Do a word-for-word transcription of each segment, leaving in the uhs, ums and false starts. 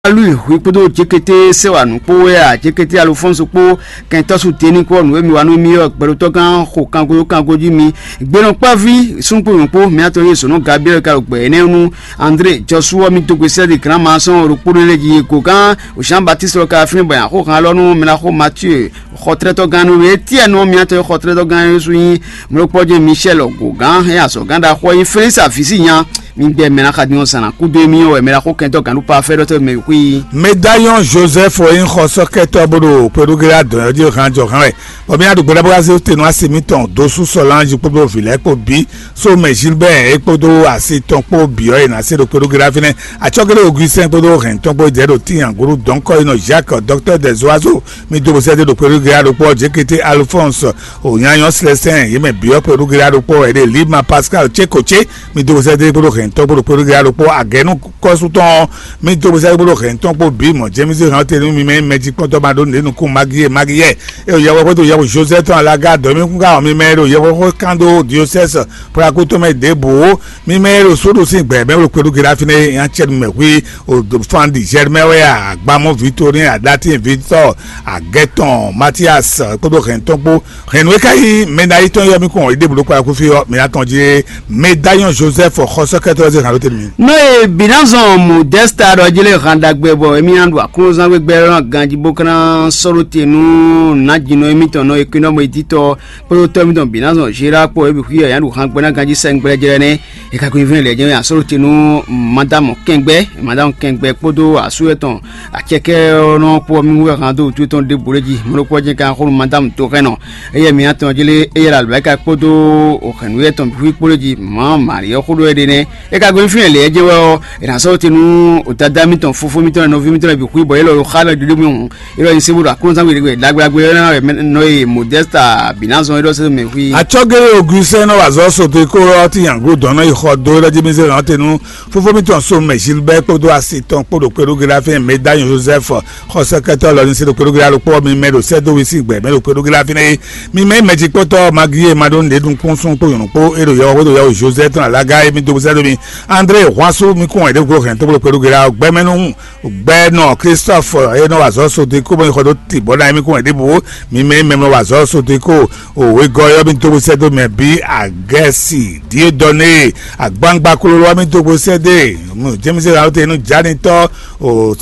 Lui hwi kpódó Jékété Sɛwanu kpó wɛ a, Jékété Alofɔ́nsu kpó kɛntɔ́ su Deni kpó nǔ e mi wa nú mì ɔ́, gbɛɖotɔ́gán xo kangoyó kango jí mi. Gbenɔkpáví súngbóyún kpó mǐtɔn e zǒnú Gabriɛ́li ka ɖo gbɛ énɛ́ nú André Jɔsú ɔ́, mì dó gbe sɛ́ ɖi Granmason ɖo kpóɖó lɛ́ɛ jí. Gǒgán Jean Baptiste ɔ́ ka fínɛ́ bɔ nyi axóhan élɔ́ nú mɛ ná xo Matíe xɔtlɛ́tɔ́gán nú Etiɛ́nu ɔ́, mǐtɔn e xɔtlɛ́tɔ́gán ɔ́ sú nyí mlɔ́kpɔ́ jɛ́n Michel Gǒgán, é azɔ̌gán ɖaxó ɔ́ nyí Felisa vǐ sí nya. Mi gbɛ mɛ ná xa din ɔ́ zǎn ná kúdó émí ɔ́ wɛ mɛ ná xo kɛntɔ́ gǎn ɖó pafɛ́ ɖɔ́ tɔ́ mɛ xwí. Médayɔn Joseph e nyí xɔsɔ́kɛtɔ́ bó ɖo Perugéla dɔn ɔ́ jí hán jɔ hán wɛ, bɔ mì ná ɖo gbɛɖá bó ná zé te nú asi mitɔn dó sú Sɔlanji kpódó vǐ lɛ́ɛ kpó bǐ, Somɛ Gilbert é kpódó asi tɔn kpó bǐ ɔ́, è nǎ se ɖo Perugéla fínɛ́. Acɔ́gélé Augustin kpódó hɛn tɔn kpó jɛ ɖo tíin agǔɖu dɔ̌nkɔ e nɔ Jacques, docteur des oiseaux, mi dó bó sɛ́ dó ɖo Perugéla ɖokpó ɔ́, Jékété Alphonse, Ònyanyɔ́ Célestin, yě mɛ bǐ ɔ́ Perugéla ɖokpó wɛ ɖe, Lima Pascal Cékocé, mi dó sɛ́ dó kpódó hɛntɔ́ kpódó kpódó ɖokpó agɛ̌nú kɔ́sútɔn ɔ́, mi dó sɛ́ dó kpódó hɛntɔ́ kpó bǐ mɔ̌. Jémísí hɛn ɔ́ te nú mi mɛ mɛjikpɔ́ntɔ́ ma ɖó nǔɖé nukún Magiyɛ Magiyɛ, é ɖo yɛhwexó dó yɛhwe Josɛ́ tɔn alaga dɔ̌míkúnga ɔ́, mi mɛ e ɖo yɛhwexó kán dó diosɛ́sɛ Plaku tɔn mɛ ɖěbǔ ó, mi mɛ e ɖo sóɖo sín gbɛ̌ mɛ ɖo kpéɖu Geɖafín é, nya cɛ́ nú mɛ hwí o fan ɖi Jɛrmɛ wɛ a, agbamɔ Vitorin, Adatín Vitɔ, Agɛtɔn Matias kpódó hɛntɔ́ kpó. Hɛn nǔ e ka nyí mɛ ɖ'ayǐ tɔn yɔ mì kɔn, é ɖěbǔ ɖo kpákúfí ɔ́, mǐ ná tɔn jí é. Mɛ d'ayɔ́n Josɛ́f xɔsɔ́kɛ́tɔ́ ɔ́ zé hǎn ɖó te nú mì. Nɔ e Binazɔn Modɛ́sta ɖɔ jí lé hǎn ɖagbe bɔ émí ná ɖu aklúnɔzán gbégbé lɔ́ ná ganjí bó ka ná sɔ́ ɖó te nú nǎjínɔ émítɔn nɔ e kwín nɔ mɔ idítɔ kpódó tɔ́ émítɔn Binazɔn Zerá kpó é bǐ xwí ɔ́, é ná ɖu hǎn gbɛ́ ná ganjí sɛngbɛ́lɛ́ jlɛ́ nɛ́. É ka ko nyí fínɛ́ lɛ̌ jɛ́n asó ɖó te nú madámu kɛngbɛ́, madámu kɛngbɛ́ kpódó asú yɛ́tɔn. Acɛkɛ́ ɔ́ nɔ kpɔ́ mì wú hǎn dó wútu tɔn ɖěbǔ lɛ́ɛ jí. Mɔ̌ ɖokpó ɔ́ jɛ́n ka xó nú madámu Toxɛ́nɔ. Éyɛ́ mi atɔn jí lé, éyɛ́ ɖo alɔ̌ ká kpódó hɛ̌nnu yɛ́tɔn bǐ xwí kpó lɛ́ɛ jí. Mɔ̌ Mari ɔ́ xó ɖó é ɖe nɛ́. É ka gɔ́ fínɛ́ lě ɔ́ jɛ́n wɛ ɔ́, è nǎ sɔ́ te nú dadá mítɔn, fofó mítɔn, nɔví mítɔn lɛ́ɛ bǐ xwí bɔ é lɔ xá lɛ́ ɖiɖi mì hǔn. É lɔ nyi sébú ɖo aklúnɔzán we ɖagbe ɖagbe ɔ́ ná wɛ nɔ e Modɛ́sta Binazɔn é ɖɔ sɛ́ mɛ xwí. Acɔ́gélé Augustin nɔ wazɔ́ sodeko ɔ́ tinyangló dɔn nɔ yi xɔ dó é ɖɔ jí mì zé hǎn te nú fofó mítɔn Somɛ Gilbert kpódó asi tɔn kpó ɖo kpéɖógélá fɛ́n Mɛdányo Joseph, xɔsɛkɛtɔ́ lɔ ní se ɖo kpéɖógélá ɖokpó ɔ́, mi mɛ ɖo sɛ́ dó wi sín gbɛ mɛ ɖo kpéɖógélá fínɛ́ é. Mi mɛ mɛjikpɔ́tɔ́ Maglie ma ɖó nǔɖé nukún sún kpó nyɔ̌nu kpó é ɖo yɔwɔ xwé ɖo yɛwɔ Joseph tɔn alága é mi dó sɛ́ dó mi. André Hwasu mi kún wɛn ɖě gbló hɛn tó bló kpéɖógélá ɔ́, gbɛmɛ nú gbɛnɔ Christophe e nɔ wa azɔ̌ sodeko bɔ xɔ dó ti bɔ ná émí kún wɛ ɖěbǔ. Mi mɛ mɛ nɔ wa azɔ̌ sodeko o wegɔ́ yɔ mi dó sɛ́ dó mɛ bí Agɛsi Diedɔne agbangba kololo ɔ́ mi dó sɛ́ dé James Raote nú Janitɔ o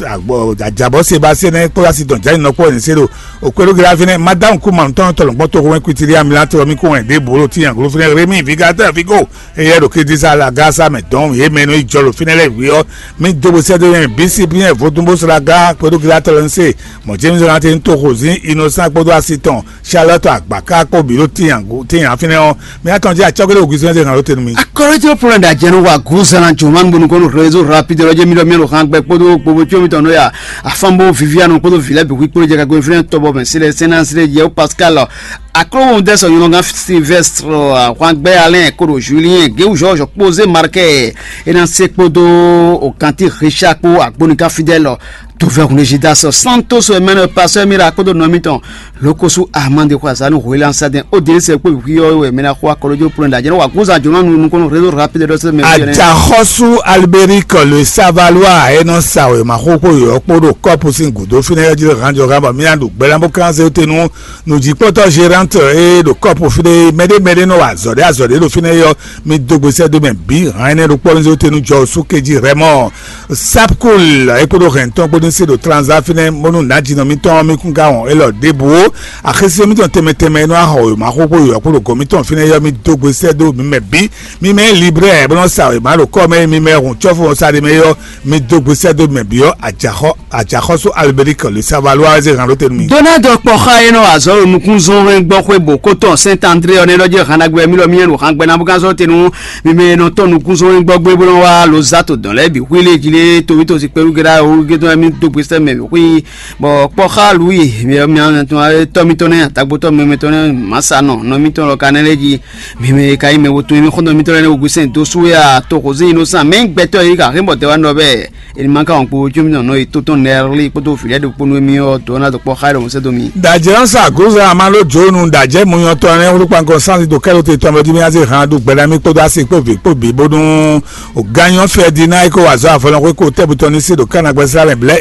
ajabɔ Sebastien nɛ kpó asi dɔn Jani nɔ kpó ɛni se ɖo o kpéɖó gla fínɛ́. Madame Kuma tɔn tɔlɔ gbɔn to wɛn kwitiri amila tɔ mi kún wɛ ɖěbǔ lo ti yan glo fínɛ́ Rémi Vigatɛ Vigo. Eyɛ ɖo Kedisala Gasa mɛ dɔn yě mɛ nɔ yi jɔ ɖo fínɛ́ lɛ́ɛ hwǐ ɔ́, mì dó bó sɛ́ dó nyɛ bǐ sí bí nyɛ vodún bó sɔ́ ɖo aga kpódó Gilatɔlɔnse, mɔ̌ James Jonathan toxo zín Innocent kpódó asi tɔn Charlotte agbǎká kpó bǐ ɖo tíin fínɛ́ ɔ́, mì atɔn jí acɔ́gbe ɖo Augustin zé hǎn ɖó te nú mì. Akɔrɔjɔ Poland ajɛnú wa gúzan jɔman bonu kɔnɔ réseau rapide lɔ jɛ mi ɖɔ mi ɖo hàn gbɛ kpódó gbogbo tso mi tɔn nɔ ya afan bó Viviane kpódó vilɛ bi hui kpódó jɛ ka gbé fínɛ tɔbɔ mɛ sílẹ̀ sɛnɛ sílẹ̀ jɛ Pascal Aklóhun dɛsɛ nyɔnɔgán Sylvestre ahwangbɛ Alain koɖo Julien Géwúzɔ́ kpó zé Markɛ é ná se kpódó Okanti Richard kpó Agbonika Fidèle. Tovɛhun Jidas Santos wɛ mɛnɛ pasɔ Mira kpódó nɔmitɔn Lokosu Ahmad Xwazanu Hwelan Sadɛn Odilise kpó wíwí ɔ́ wɛ mɛnɛ xɔ akɔlójó plɔn da jɛnɛ wa kúzan jɔnɔ nu nukɔn réseau rapide dɔ sɛ mɛ. Ajaxɔsu Alberic le Savalois e nɔ sa wěma xóxó yɔ̌ kpó ɖo kɔ́pu sín gǔdo fínɛ́ ɔ́ jí hánjɔ hán bɔ mía ɖo gbɛ́ ná bó kán zé te nú nǔjíkpɔ́tɔ́ Gérante e ɖo kɔ́pu fínɛ́ mɛɖé mɛɖé nɔ wa azɔ̌ ɖé azɔ̌ ɖé ɖo fínɛ́ é ɔ́, mi dó gbe sɛ́ dó mɛ bǐ hán énɛ́ ɖokpó ɔ́ ní zé te nú jɔ sú kéjí Rɛmɔ. Sapkul e kpódó hɛn tɔn kpó ní se ɖo Transa fínɛ́ bónú nǎjínɔ mitɔn ɔ́ mi kún ka wɔn élɔ́ ɖěbǔ ó. Axésinnɔ mitɔn tɛnmɛ tɛnmɛ e nɔ wá xɔ wěma xóxó yɔ̌ kpó ɖo gɔ̌n mitɔn fínɛ́ é ɔ́, mi dó gbe sɛ́ dó mǐ mɛ bǐ. Mi mɛ librɛ bó nɔ sa wěma ɖo kɔ́ mɛ, mi mɛ hun cɔ́fu ɔ́ sa ɖe mɛ é ɔ́, mi dó gbe sɛ́ dó mɛ bǐ ɔ́, ajaxɔ ajaxɔ́sú Alberic le Savalois wɛ zé hɛn ɖó te nú mi. Donald Kpɔxa e nɔ wa azɔ̌ ɖo nukúnzɔ́nwɛngbɔ́xwé bǒ kó tɔn Saint André ɔ́ nɛ́ ɖɔ jɛ hannagbe mi ɖɔ mi yɛn ɖo hangbe ná bó gán zɔ́ te nú mi mɛ e nɔ tɔ́n nukúnzɔ́nwɛngbɔ́gbé bó nɔ wá lo zá to dɔn lɛ́ɛ bǐ xwí lé jí lé to mítɔn si kpɛɖú géɖá wú gé tɔn mi dó gbe sɛ́ mɛ bǐ xwí. Bɔ Kpɔxa Louis mi mi tɔn tɔ́ mitɔn nɛ́, atagbotɔ́ mɛ mitɔn nɛ́, mǎsa nɔ nɔ mitɔn lɔ ka nɛ́ lɛ́ jí. Mi mɛ e ka nyí mɛ wo to mi xɔ́ntɔn mitɔn lɛ́ɛ nɛ́ Augustin dó sú wɛ a to José Innocent mɛ gbɛtɔ́ e ka hɛn bɔ tɛ wá nɔ bɛɛ. Eni ma ka wɔn kpo jó mi nɔ nɔ yi tó tɔn nɛrli kpódó vǐ lɛ́ɛ ɖokpó nú émí ɔ́, dǒ ná dó kpɔ́ xá ɖo mɔ̌ sɛ́ dó mi. Dajɛ ɔ́ sa gǔzan amalo jǒnu dajɛ munyɔtɔn ɛnɛ wlú kpankɔ sanzi ɖo kɛ́ɖo te tɔn mɛ jí mí azé han ɖu gbɛɖá mì kpódó asi kpó vǐ kpó bǐ bónú gányɔ Fɛdina e ko wa azɔ̌ avɔlɔn xwé ko tɛ́butɔ ní se ɖo Kánagbɛ́sá mɛ blɛ́